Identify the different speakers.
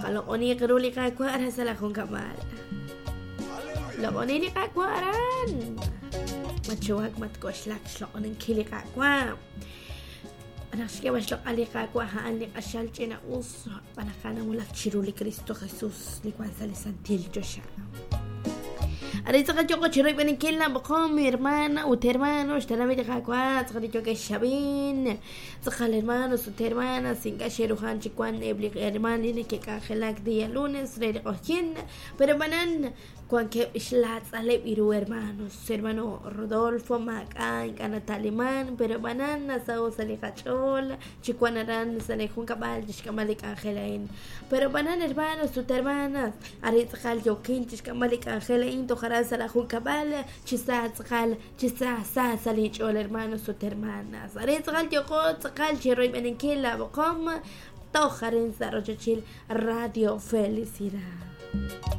Speaker 1: Qaloq'oniiq ru li Qaawa' aran sa' laa junkab'al. Loq'oni li Qaawa' aran. Matxuwak, matk'oxlak xloq'oninkil li Qaawa'. Naq xk'eeb'al xloq'al li Qaawa' a'an li q'axal ch'ina-us xb'aan naq a'an nawulak chiru li Kristo Jesus li wan sa' li santil choxa. Arin tz'aqal yooqo chi royb'eninkil laa b'oqom, hermana ut hermano, xtenamit li Qaawa', tz'aqal li yookex xab'in, tz'aqal hermanos ut hermanas, ink'a' xe'ruhan chi wank eb' li hermaan li neke'k'anjelak día lunes re li q'ojyin, pero ab'anan Wankeb' xlaatz'aleb' ru hermanos. Hermano Rodolfo maak'a' ink'a' nata'liman, pero ab'anan nasaho' sa' li qach'ool chi wan aran sa' li junkab'al chixk'amb'al li k'anjel a'in. Pero ab'anan hermanos ut hermanas, arin tz'aqal yookin chixk'amb'al li k'anjel a'in toj aran sa' la junkab'al, chi sa tz'aqal, chi sa sa sa' lin ch'ool hermanos ut hermanas. Arin tz'aqal yooqo tz'aqal chiroyb'eninkil laa b'oqom toj arin sa' rochochil Radio Felicidad.